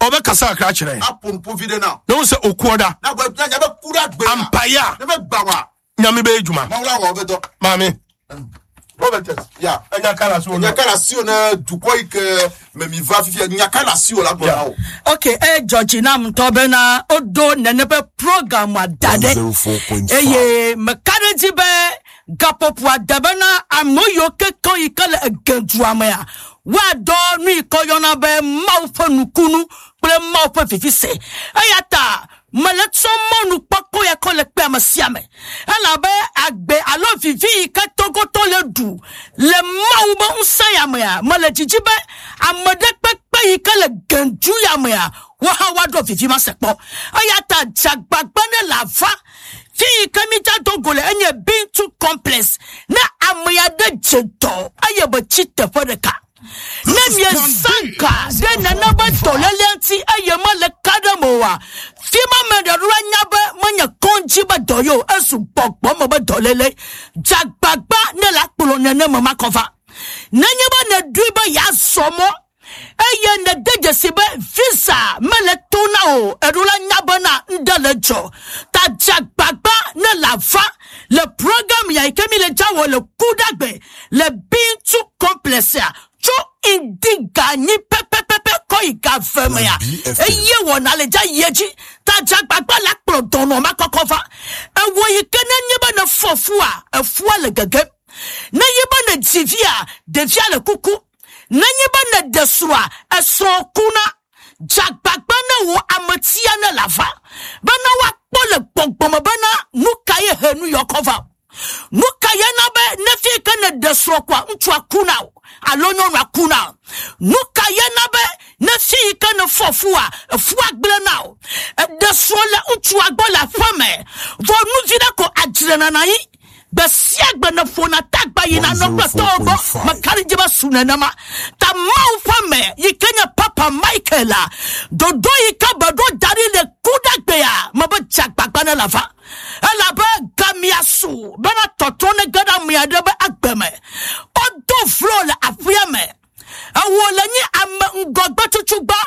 ɔbɛkasa akra kyerɛ na wo sɛ okuo da ampayɛ a Nyame bɛyɛ dwuma. Maame ɛnya kala so. Nyakala si o na dukɔ yi ke mɛ mi va fifia nyakala si o la gbɔ na o. Ok, e dzɔdzi nam ŋutɔ bena woɖo nene ƒe program da ɖe 104.5. eye meka ɖe dzi be Gaƒoƒo ade bena ame yiwo kekeŋ yi ke le egedua mea, woadɔ nu yi ke woyɔna be Mawu ƒe nukunu kple Mawu ƒe vivise. Eya ta mele tsɔ mɔnukpɔkpɔ ya kɔ le kpe ame sia ame. Elabe agbe alo vivi yi ke togotɔ le ɖu le Mawu be ŋusẽ ya mea, mele dzidzi be ame ɖe kpekpe yi ke le gendu ya mea, wohã woaɖo vivi ma se kpɔ. Eya ta dze agbagba ne le ava. Fi yi ke mídza do go le enye Bintu Complex. Ne ame aɖe dze dɔ eye be tsi teƒe ɖeka. Ne miezã ga ɖe nane be dɔléle ŋuti eye mele ka ɖe me oa, fi ma me ɖe ɖo anya be menye kɔdzi be dɔ ye o, ezu gbɔgbɔ me be dɔléle. Dze agbagba ne le akplɔ neneme makɔ va. Nenye be nèɖoe be yeazɔ mɔ eye nède dzesi be visa mele to na o, eɖo la nya bena ŋɖe le dzɔ. Ta dze agbagba ne le ava le program ya yi ke mi le dza wɔ le Kuɖagbe le Bintu Complex ya tso ŋdi ga nyi pɛpɛpɛpɛ kɔ yi ga ve mea, eye wɔna le dza yi edzi. Ta dze agbagba le akplɔ dɔnɔ ma kɔkɔ va. Ewɔ yi ke nenye be nefɔ fua, efua le gegem. Nenye be nedzi via, ɖevia le kuku. Nenye be nèɖe srɔ̃a, esrɔ̃ kuna. Dze agbagba ne wò ametia ne le ava bena woakpɔ le gbɔgbɔme bena nu ka ye he nu yɔ kɔ va. Nu ka ye na be ne fi ke nèɖe srɔ̃ koa, ŋutsua kuna o alo nyɔnua kuna o. Nu ka ye na be ne fi yi ke nèfɔ fua, efua gblẽ na o. Eɖe srɔ̃ le ŋutsua gbɔ le aƒeme vɔ nuvi ɖe ko adzre nana yi. Gbe sia gbe nèƒona tagba yina nɔ kple tɔwo gbɔ, meka ɖe edzi be su nenema. Ta Mawu ƒe ame yi ke nye Papa Michael la, ɖoɖo yi ke be ɖo da ɖi le Kuɖagbea me be dze agbagba ne le ava. Elabe gamia su bena tɔtrɔ ne ge ɖe ame aɖe be agbe me. Wodo vlo le aƒea me. Ewɔ le nyi ame ŋgɔgbe tutugbã.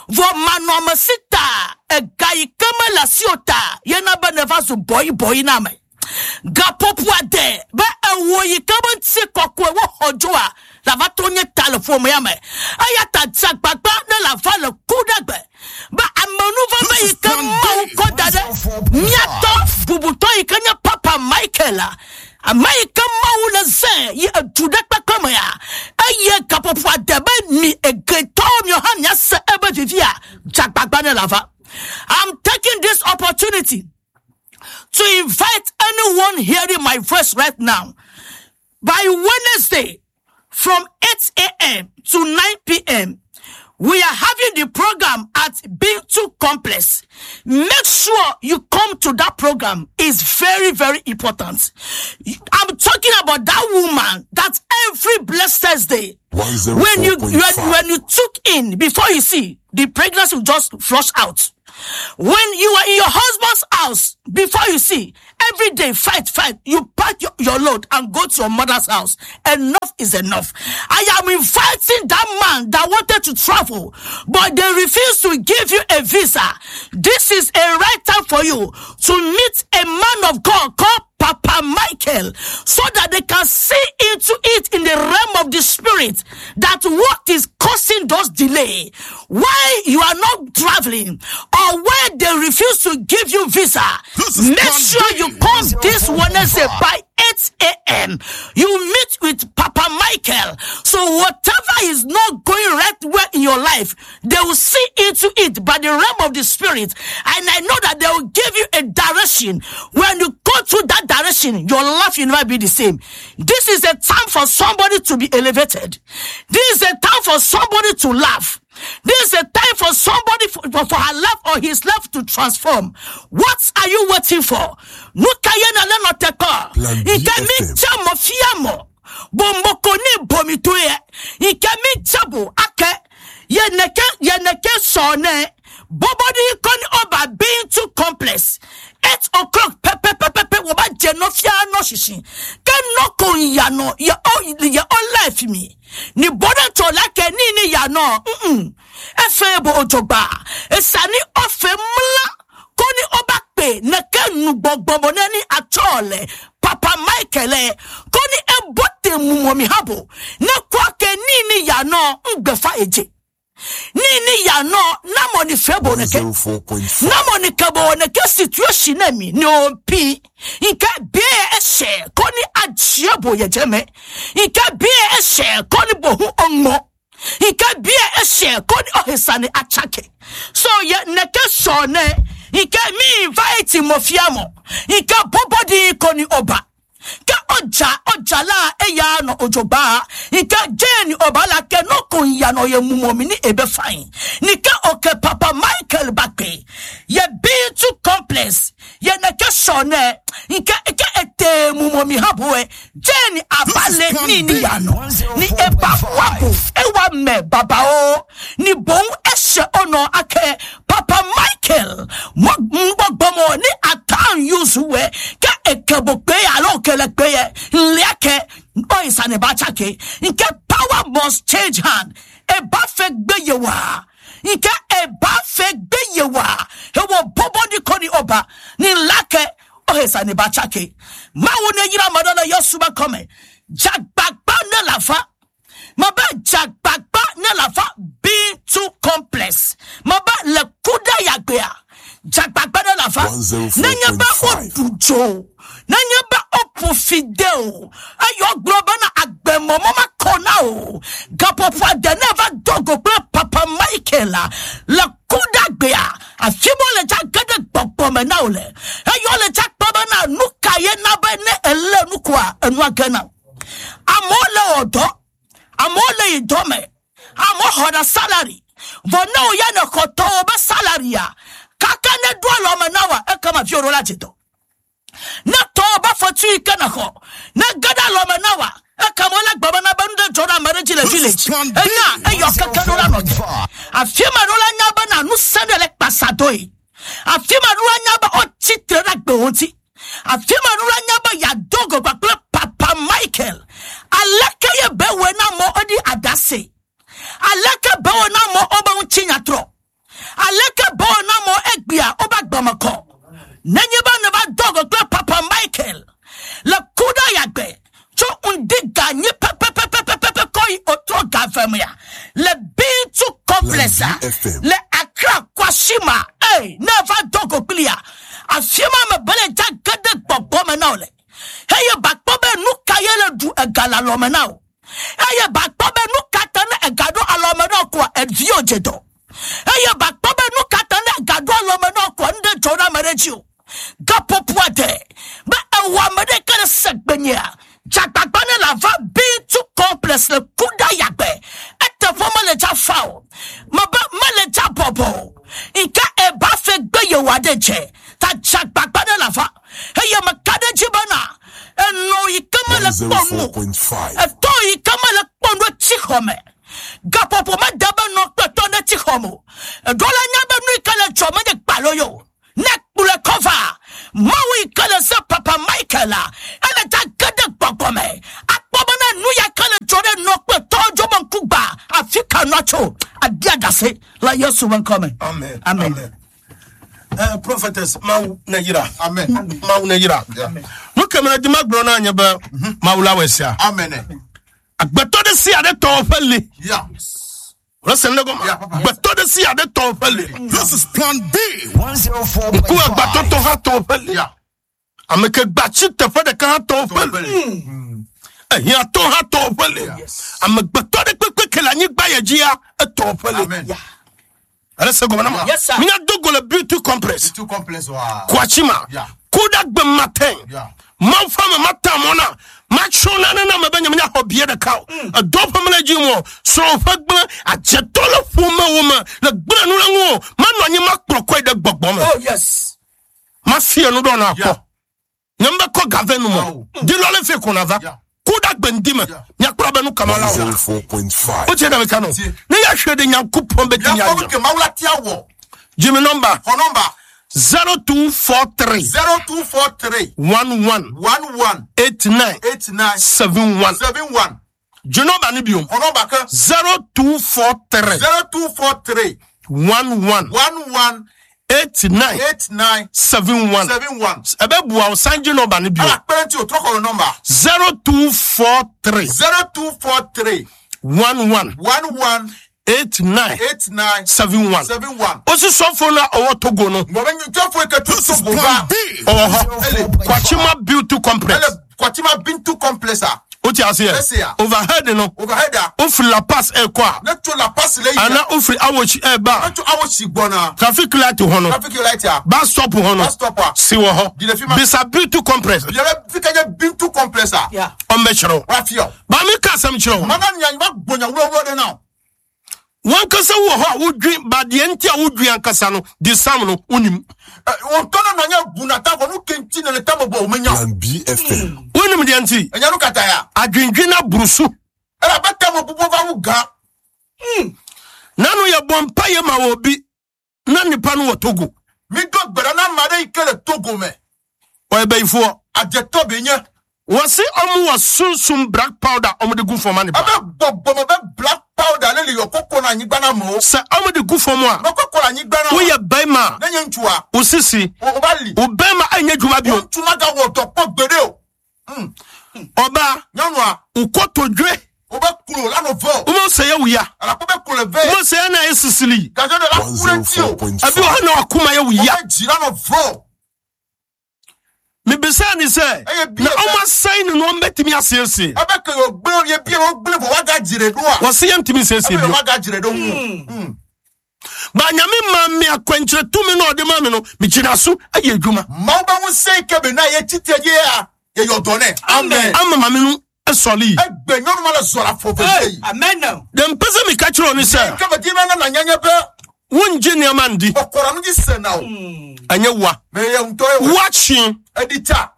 Vɔ manɔamesi ta ega yi ke mele asi o ta yena be neva zu bɔyibɔyi na ame. Gaƒoƒo ade be ewɔ yi ke be ŋuti kɔkɔe woxɔ dzoa la va trɔ nye ta le ƒomea me. Eya ta dze agbagba ne le ava le Kuɖagbe be amenuveve yi ke Mawu kɔ da ɖe míatɔ bubutɔ yi ke nye Papa Michael la, ame yi ke Mawu le zẽ yi edu ɖe kpekpe mea, eye gaƒoƒo ade be mi egetɔwo miwo hã miase ebe vivia, dze agbagba ne le ava. I'm taking this opportunity to invite anyone hearing my voice right now. By Wednesday, from 8 a.m. to 9 p.m., we are having the program at Bintu Complex. Make sure you come to that program. It's very, very important. I'm talking about that woman that every blessed Thursday, when you, when, when you took in, before you see, the pregnancy will just flush out. When you are in your husband's house, before you see, every day, fight, fight, you pack your load and go to your mother's house. Enough is enough. I am inviting that man that wanted to travel, but they refused to give you a visa. This is a right time for you to meet a man of God called Papa Michael, so that they can see into it in the realm of the spirit that what is causing those delay, why you are not traveling, or why they refuse to give you visa. Make sure you come this Wednesday by 8 a.m. You meet with Papa Michael. So whatever is not going right well in your life, they will see into it by the realm of the spirit. And I know that they will give you a direction. When you go through that direction, your life will never be the same. This is a time for somebody to be elevated. This is a time for somebody to laugh. This is a time for somebody for her life or his life to transform. What are you waiting for? Nuka ye na le no te ko. Plan B Ike mi FM. tse mo fia mo. Bomboko ni bomi to ye. Ike mi tse bo ake. Ye neke, ye neke so ne. Bobodi koni oba Bintu Complex. 8 o'clock pepe pepe pepe woba je no fia no shishi. Ke no ko ya no ye o ye o life mi. Ni bodo to la ke ni ni ya no. Efe bo ojogba. Esani ofe mla koni oba pe ne ke nu gbogbo ne ni atole. Papa Michael koni ebote mumo mi habo. Ne kwa ke ni ni ya no ngbefa eje. Ni ni ya no na mo ni febo ne ke. Na mo ni kebo ne ke situation na mi ni ompi. Nke bie ehye ko ni agye bo ye jeme. Nke bie ehye ko ni bo hu onmo. Nke bie ehye ko ni ohisane achake. So ye neke so ne nke mi invite mo fiamo. Nke bobodi ko ni oba. Ke ọjà ọjà la eya no ojoba nke jane ọba la ke no kun ya no ye mumomi ni ebe fine ni ke oke papa Michael Bakpe ye B2 complex ye neke sone nke ke ete mumomi haboe jane abale ni ni ya no ni eba wabo ewa me baba o ni bon ehye ono ake papa Michael mgbogbomo ni atan yuzuwe ke ekebo pe alo kele pe nleke oisane bachake nke power must change hand e ba fe gbeyewa nke e ba fe gbeyewa e wo bobo ni koni oba ni lake oisane bachake mawo ne yira madola yosuba kome jagbagba ne lafa maba jagbagba ne lafa B2 complex maba le kuda yagbea jagbagba ne lafa nenye ba odujo nenye ba opofideo ayo gboba na agbemomo makona o gapopo ade never dogo pe papa Michael le kuda gbea afimo le jagede gbogbo me na ole ayo le jagbaba na nuka ye na be ne ele nukwa enu agena amole odo amole idome amo hoda salary vono ya ne koto obe salary ya kaka ne do lo me nawa e kama fi oro lati to na to oba fotu ike na ho na gada lo me nawa e kama la gbaba na banu de jora marriage le village e na e yo kaka no la no afi ma ro la nya ba na nu sene le pasado yi afi ma ro la nya ba o titre na gbe won ti afi ma ro la nya ba ya dogo pa papa Michael aleke ye bewe na mo odi adase aleke bewe na mo oba unchinya tro aleke bewe na mo egbia oba gbamako nenye ba ne ba dogo kle papa Michael le kuda yagbe cho undi ganye pepe pepe pepe pepe koi otro gavemia le B2 complex le Accra Kwashima eh never dogo clear afima me bele jagede gbogbo me na ole eye bakpobe nuka yele du egala lome na o eye bakpobe nuka tane egado alome na kwa evio jedo eye bakpobe nuka tane egado alome na kwa nde jona mereji gapopo ade ba ewa mere kere segbenya jagbagba ne lava B2 complex le kuda yagbe etefo mele ja fao maba mele ja bobo nka eba fe gbe yewa de je ta jagbagba ne lava eye makade jibana eno ikama le ponu eto ikama le ponu chihome gapopo ma daba no peto ne chihomo edola nya be nu ikale chome de gbaloyo ne kpule cover mawu ikale se papa Michael ele ta gede gbogome akpobo na nu ya kale chore no peto jobo nkugba afika nacho adiadase la Yesu wan come. Amen. Amen. Amen. Prophetess mawu Nigeria. Amen. Mawu Nigeria. Nu kemere di ma gblɔ na nye be mawu la wɔ sia. Amen. Agbetɔ ɖe sia ɖe tɔ ƒe li. Yeah. Rese ne gɔme. Yeah, papa. Agbetɔ ɖe sia ɖe tɔ ƒe li. This is Plan B. 104.5. Ku agbetɔtɔ hã tɔ ƒe li. Yeah. Ame ke gbatsi teƒe ɖeka hã tɔ ƒe li. Ehiãtɔ hã tɔ ƒe li. Amegbetɔ ɖe kpekpe ke le anyigba yɛ dzia etɔ ƒe li. Amen. Rese gɔme na ma. Yes, sir. Mínya do go le beauty complex. Two complex wa. Kwachima. Yeah. Kuda gbe matin. Yeah. Mawu ƒe ame mata mɔ na matso nane na ame be nye menya xɔ bie ɖeka o. Edɔ ƒe mele dzi ŋu o. Srɔ̃ ƒe gblẽ adzetɔ le ƒomewo me le gblẽ nu le ŋu o. Manɔ anyi makplɔ kɔe ɖe gbɔgbɔ me. Oh yes. Mafie nu ɖɔ na akɔ. Yeah. Nye mbe kɔ gave nu me. Awo. Di lɔ le fi ko na va. Yeah. Kuda gbe ŋdi me. Yeah. Miakplɔ be nu kama la o. 104.5. O tse ɖe mi ka nɔ. Tie. Ne ya hwɛ ɖe Nyankopɔn be ti Ya nya fɔ dzɔ. ke mawu la tia wɔ. Jimmy number Xɔ nɔmba 0243 0243 11 11 89 89 71. 71. Jimmy number ni biom. Xɔ nɔmba ke 0243 0243 11 11 89 89 71. 71. Ebe bua o sanji nɔba ni bi o. Ala kpɛrɛnti o trɔ xɔ nɔmba 0243 0243 11 11 89 89 71. 71. Wosi sɔfo no a ɔwɔ Togo no. Ngɔbɛ nyitɔfo eketu Togo ba. Ɔwɔ hɔ. Kwachima Beauty Complex. Ɛlɛ Kwachima Bintu Complex a. Wote aseɛ? Overhead no. Overhead a. Wofiri La Pass ɛkɔ a. Ne to La Pass le yi. Ana wofiri Awoshi ɛba. Ne to Awoshi gbɔna. Traffic light hɔ no. Traffic light a. Bus stop hɔ no. Bus stop a. Si wɔ hɔ. Gyina fi ma. Bisa Beauty Complex. Yɛrɛ fi ka nye Bintu Complex a. Yeah. Ɔmbɛkyerɛ wo. Wafia. Maame ka asɛm kyerɛ wo. Mana nya gbonya wúrɔwúrɔ de na. Wankasa wɔ hɔ a wodwen ba deɛ nti a wodwen ankasa no de sam no wonim. Wɔn tɔ na nanya bunata fɔ nu kenti na ne ta bɔ o menya. Plan B FM. Wonim deɛ nti. Ɛnya no kata ya. Adwendwen aburu so. Ɛna bɛ ta mo bubɔ va wu gan. Nanu yɛ bɔ mpa yɛ ma wɔ bi na nipa no wɔ Togo. Mi do gbɛrɛ na ma de yi kele Togo mɛ. Ɔyɛ bɛyifoɔ. Adzetɔ bɛ nye. Wɔsi ɔmo wɔ sunsum black powder ɔmo de gu fam ani ba. Ɛbɛ gbɔgbɔmɔ bɛ black powder ne le yɔ koko na anyigba na mɔ. Sɛ ɔmo de gu fam a. Mɔ koko na anyigba na. Woyɛ bɛrima. Ne nye ŋutsua. O sisi. O ba li. O bɛrima ɛnyɛ dwuma bio. Ŋutsu ma ga wɔ dɔ kpɔ gbeɖe o. Ɔbaa. Nyɔnua. O kotodwe. O bɛ kulo la nɔ vɔ. O ma sɛ yɛ wuya. Alakpo bɛ kulo vɛ. O ma sɛ yɛ na yɛ sisili. Gadzɔ de la kure ti o. Ɛbi wɔ hɔ na wakoma yɛ wuya. O bɛ dzi la nɔ vɔ. Mebisa ni sɛ na ɔmo asɛn no na ɔmo bɛtumi asiesie. Ɛbɛ ke yɔ gbe yɛ bi yɛ gble vɔ waga dzire do a. Wɔsi yɛ ntumi nsiesie Ɛbɛ bio. yɔ waga dzire do ŋu. Ba nyame maa mi akwankyerɛ tumi na ɔde maa mi no megyina so ayɛ adwuma. Mawu bɛ ŋusẽ yi ke be na ye tsitre ye ya ye yɔ dɔ nɛ. Amen. Ama maame no sɔre yi. Egbe nyɔnu ma le zɔ le afɔ veve yi. Amen. Deɛ mpɛ sɛ meka kyerɛ wo ne sɛ. Ke me di be na nanya nye be. Wongye nneɛma ndi. Kɔkɔrɔ nu dzi sena o. Ɛnyɛ wa. Me ye ŋutɔ ye wɔ. Woakye. Eɖi tsa.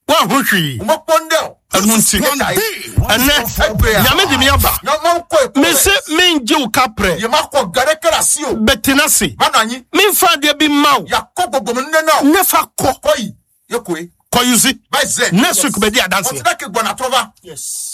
Woaho hwee. Womekpɔ ŋɖe o. Ɛno nti. Ɛnɛ nyame de me aba. Mese mengye wo kaprɛ. Ye ma kɔ ga ɖeke le asi o. Bɛtena ase. Va nɔ anyi. Memfa adeɛ bi mma wo. Yakɔ gbɔgbɔme nu ne na o. Ne fa kɔ. Kɔ yi. Ye koe. Kɔ yusi. Va yi zɛ. Next week bɛdi adanseɛ. Ɔte ɖe ke gbɔna trɔ va. Yes.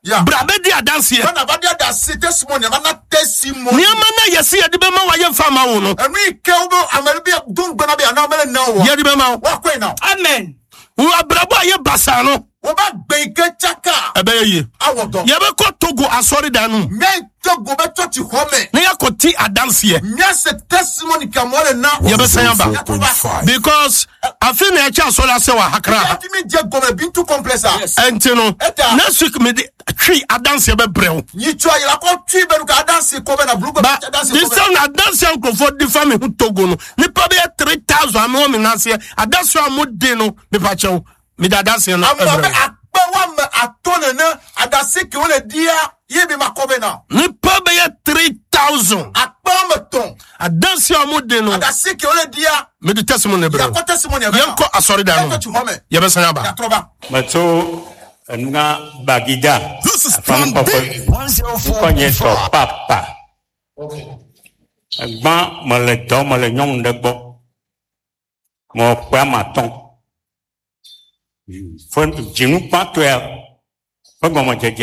Yeah. Bra bɛdi adanseɛ. Bana ba di adase testimony ba na testimony. Nneɛma na yɛsi yɛde bɛma wa yɛmfa ma wo no. Ɛnu yi ke wo bɛ ameri bi dun gbɛna bi ana mɛlɛ na wo. Yɛde bɛma wo. Wa koe na. Amen. Wo abrabɔ a yɛ basaa no. Wo ba gbɛ yi ke tsaka. Ɛbɛyɛ yie. Awɔ dɔ. Yɛbɛkɔ Togo asɔredan no mu. Mɛ Togo bɛ church xɔ mɛ. Na yɛakɔ ti adanseɛ. Mɛ se testimony kamɔ le na. Yɛbɛsan aba. Because afe na ɛkyɛ asɔre ase wɔ Accra. Yàtí mi jẹ gọmẹ Bintu complex a. Ɛnti no next week mi de twi adanseɛ bɛbrɛ wo. Nyitsɔ ayira kɔ twi bɛnu ka adanse kɔ bɛ na bulu kɔ Ba bɛ adanse this kɔ bɛ. time na adanseɛ nkurɔfoɔ di fa mi ho Togo no nipa bɛyɛ 3,000 ami wɔ mi n'aseɛ adanseɛ a mo di no nipa kyɛw mi de adanseɛ no Amɔ bɛ ɛbrɛ wo. akpɛ wa mɛ atɔ nene adase ke wo le dia ye mi ma kɔ bɛ na. Nipa bɛyɛ 3,000. Akpɛ wa mɛ tɔn. Adanseɛ a mo di no. Adase ke wo le dia. Mi de testimony brɛ wo. Yakɔ testimony bɛ na. Yɛnkɔ asɔredan no Yɛnkɔ tsi hɔ mɛ. Yɛbɛsan aba. Yatrɔ ba. Metso enua Bagida. This is Plan B. Ŋkɔ nye tɔ papa. Egbã mele dɔ mele nyɔnu ɖe gbɔ. Mewɔ ƒe ame atɔ̃. Ƒe dzinu gbãtɔa ƒe gɔmedzedzea.